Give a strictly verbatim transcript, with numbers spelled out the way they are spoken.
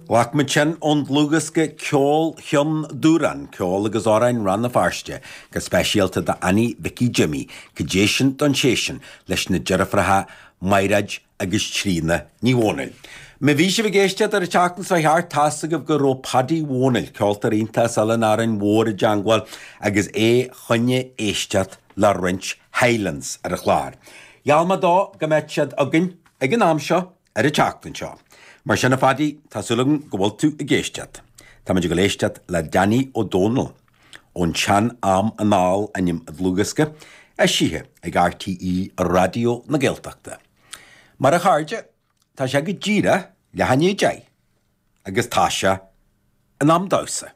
Ghlac muid sin ón dlúthdhiosca Ceol Chionn Dúrán, Ceol agus Amhráin Rann na Feirste, go speisialta d'Annie Mhicí Jimmy, go dté sin don té sin leis na deirfiúracha Maighread agus Tríona Ní Dhomhnaill. Má bhí sibh ag éisteacht ar an tseachtain seo thart tá's agaibh go raibh Paddy Dhomhnaill, ceoltóir iontach as Oileán Árainn Mhór i dteangmháil agus é choinne éisteacht le roinnt Highlands ar an chlár. Gheall mé dó go mbeadh siad againn ag an am seo ar an tseachtain seo. Mar sin a Phaddy, tá súil agam go bhfuil tú ag éisteacht. Táimid ag éisteacht le Danny Ó Dónaill ón tsean-am anall ainm an dlúthdhiosca, eisithe ag RTÉ Raidió na Gaeltachta. Mar a chairde, tá sé go díreach leath i ndiaidh a deich, agus tá sé in am damhsa.